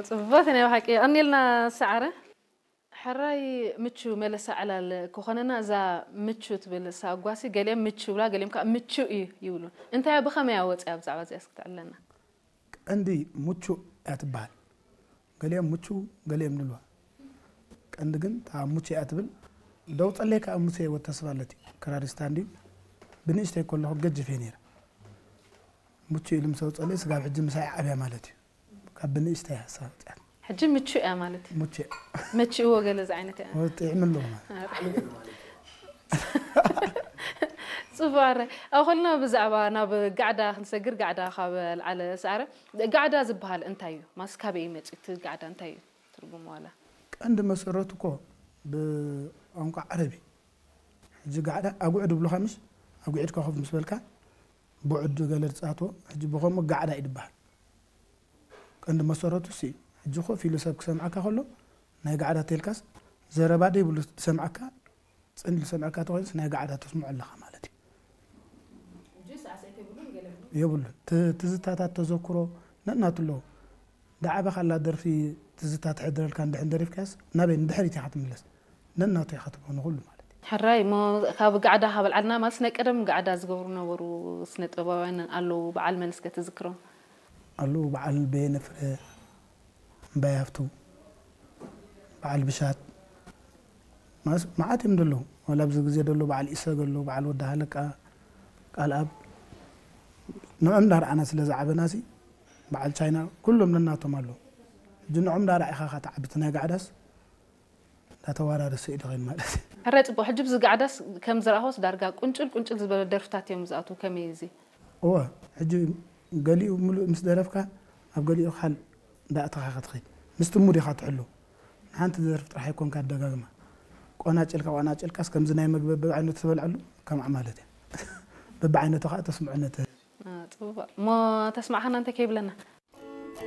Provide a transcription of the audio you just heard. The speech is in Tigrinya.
ጽቡቕ ናይ ብሓቂ። ቀኒልና ሰዓረ። ሕራይ ምቹ መለሳ ዕላል ክኾነና፣ እዛ ምቹ ትብል ሳጓሲ፣ ገሊኦም ምቹ ይብላ፣ ገሊኦም ከዓ ምቹ እዩ ይብሉ። እንታይ እያ፣ ብኸመይ እያ ወፂኣ? ብዛዕባ እዚኣ እስኪ ትዕለና። ቀንዲ ምቹ እያ ትበሃል። ገሊኦም ምቹ፣ ገሊኦም ንልዋ። ቀንዲ ግን እታ ምቹ እያ ትብል። ደው ጸለይ ከዓ ሙሴ ወተስፋለት እዩ። ክራሪስታ እንድዩ። ብንእሽተይ ከለኹ ገጅፍ እየ ነይረ። ምቹ ኢሉ ምስ ኣውጸለይ ስጋብ ሕጂ ምሳይ ዓብያ ማለት እዩ። ካብ ብንእሽተይ ሓሳብ ኣውጽኣት። ሕጂ ምቹ እያ ማለት እዩ። ምቹ እያ። መችእዎ ገለ ዝዓይነት እያ። ወ-፣ ጥዕሚ ኣለዎ ማለት። ኣረ። ጽቡቕ፣ ኣረ። ኣብ ኸልና ብዛዕባ ናብ ጋዕዳ ክንሰግር፣ ጋዕዳ ካብ ኣልዓለ ሰዓረ። ጋዕዳ ዝበሃል እንታይ እዩ? ማስ ካበይ እዩ መጺኡ? እቲ ጋዕዳ እንታይ እዩ ትርጉሙ ዋላ? ቀንዲ መሰረቱ እኮ ብቋንቋ ዓረብ እዩ። ሕጂ ጋዕዳ ኣጉዕድ ይብሉኻ ምሽ? ኣጉዒድካ ኮፍ ምስ በልካ ብዑድ ገለ ዝጻትዎ፣ ሕጂ ብኸምኡ ጋዕዳ እዩ ዝበሃል። ቀንዲ መሰረቱ እሱ እዩ። ሕጂ ኮፍ ኢሉ ሰብ ክሰምዓካ ከሎ፣ ናይ ጋዕዳ ተልካስ፣ ዘረባ ደይብሉ ዝሰምዓካ፣ ጽን ኢሉ ዝሰምዓካ ተኾይኑስ ናይ ጋዕዳ ተስምዖ ኣለኻ ማለት እዩ። የብሉን። ት-፣ ትዝታታት ተዘክሮ ነናቱ ኣለዎ። ዳዓበኻላ ደርፊ ትዝታ ትሕድረልካ እንድሕር ደሪፍካስ፣ ናበይ ንድሕሪት ኢኻ ትምለስ። ነናቱ ኢኻ ትብሎ ንኹሉ ማለት እዩ። ሕራይ እሞ፣ ካብ ጋዕዳ ካብ ኣልዓልና ማለት ናይ ቀደም ጋዕዳ ዝገብሩ ነበሩ ስነ ጥበባውያን ኣለዉ፣ በዓል መን እስከ ትዝክሮም? ኣለዉ፣ በዓል በየነ ፍረ፣ እምባይ ሃፍቱ፣ በዓል ብሻት፣ ማስ-፣ መዓት እዮም ዘለዉ። ዋላ ኣብዚ ግዜ ዘሎ በዓል ኢሰግ ኣሎ፣ በዓል ወዲ ሃለቃ፣ ቃልኣብ። ንዖም እንዳረኣና ስለ ዝዓበናሲ፣ በዓል ቻይና፣ ኩሎም ነናቶም ኣለዉ። ሕጂ ንዖም እንዳረኣኻ ኢኻ ትዓቢ፣ እቲ ናይ ጋዕዳስ እንዳተዋራረሰ እዩ ዝኸይድ ማለት እዩ። ሕራይ ጽቡቕ። ሕጂ ብዚ ጋዕዳስ ከም ዝረኣኹስ ዳርጋ ቁንጭል ቁንጭል ዝበለ ደርፍታት እዮም ዝኣትዉ። ከመይ እዩ እዚ? እወ፣ ሕጂ ገሊኡ ምሉእ ምስ ደረፍካ፣ ኣብ ገሊኡ ካል እንዳእተኻ ኢኻ ትኸይድ። ምስቲ ሙድ ኢኻ ትሕሉ። ንሓንቲ ደርፊ ጥራሕ ኣይኮንካ ኣደጋግማ። ቆናጭልካ፣ ቆናጭልካስ ከምዚ ናይ መግቢ በብዓይነቱ ትበልዐሉ፣ ከምኣ ማለት እያ። በብዓይነቱ ኸኣ ተስምዖ ነቲ። አ፣ ጽቡቕ። እሞ ተስማዕኻና እንተ ከይብለና?